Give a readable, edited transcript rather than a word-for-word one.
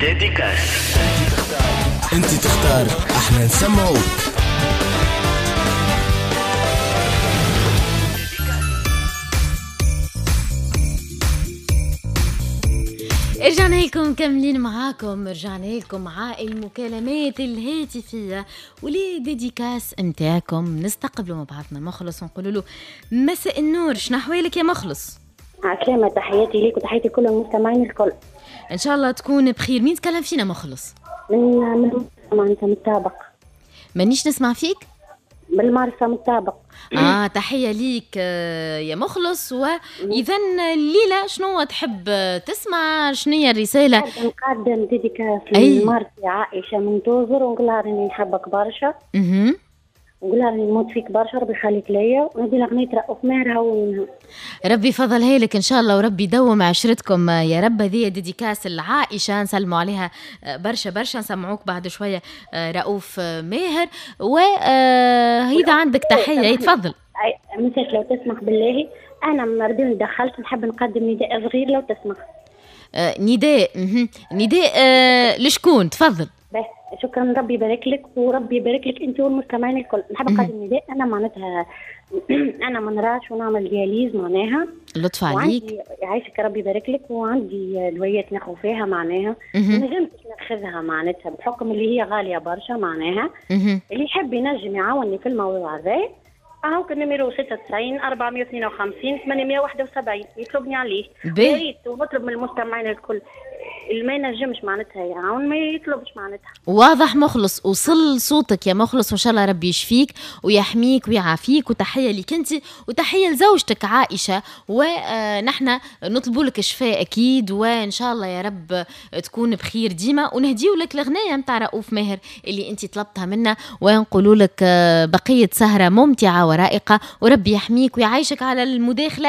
dédicace. انت تختار، احنا نسمعوك. رجعنا لكم كاملين معاكم، رجعنا لكم مع المكالمات الهاتفية و les dédicaces نتاعكم. نستقبلوا مع بعضنا مخلص ونقولوا له مساء النور، شنو احوالك يا مخلص؟ عسلامة، تحياتي ليك وتحياتي كل المستمعين الكل. ان شاء الله تكون بخير. مين تكلم فينا مخلص؟ من معناتها من الطابق. مانيش نسمع فيك؟ بالمرسى من الطابق. تحية ليك يا مخلص. وإذا الليلة شنو تحب تسمع؟ شنو هي الرسالة؟ نقدم dédicace لمرتي عائشة من توزر ونقول لها راني نحبك برشا. نقول لها راني نموت فيك برشا، ربي يخليك ليا، ونهدي لها أغنية رؤوف ماهر هونها. ربي يفضلها لك إن شاء الله وربي يدوم عشرتكم يا رب. هذه dédicace العائشة، نسلموا عليها برشا برشا، نسمعوك بعد شوية رؤوف ماهر. وإذا عندك تحية تفضل. مساك لو تسمح بالله، أنا مردوني دخلت، نحب نقدم نداء صغير لو تسمح. نداء نداء لشكون؟ تفضل. بس شكرا، ربي يبارك لك وربي يبارك لك انت والمستمعين الكل. نحب نقدم نداء، انا معناتها انا ما نراش ونعمل dialyse معناها. لطف عليك، يعيشك ربي يبارك لك. وعندي دوايات ناخذ فيها معناها، ما نجمتش ناخذها معناتها بحكم اللي هي غالية برشا معناها. اللي يحب ينجم يعاوني في الموضوع هذا، هاوك ال numéro 96 452 871 يطلبني عليه. يا ريت، ونطلب من المستمعين الكل اللي ما ينجمش معناتها يعاون ما يطلبش معناتها. واضح مخلص، وصل صوتك يا مخلص، وان شاء الله ربي يشفيك ويحميك ويعافيك. وتحية لك انت وتحية لزوجتك عائشة، ونحن نطلب لك شفاء اكيد، وان شاء الله يا رب تكون بخير ديما. ونهديو لك الغنايه نتاع رؤوف ماهر اللي انت طلبتها منا، ونقولوا لك بقية سهره ممتعة ورائقه، وربي يحميك ويعيشك على المداخلة.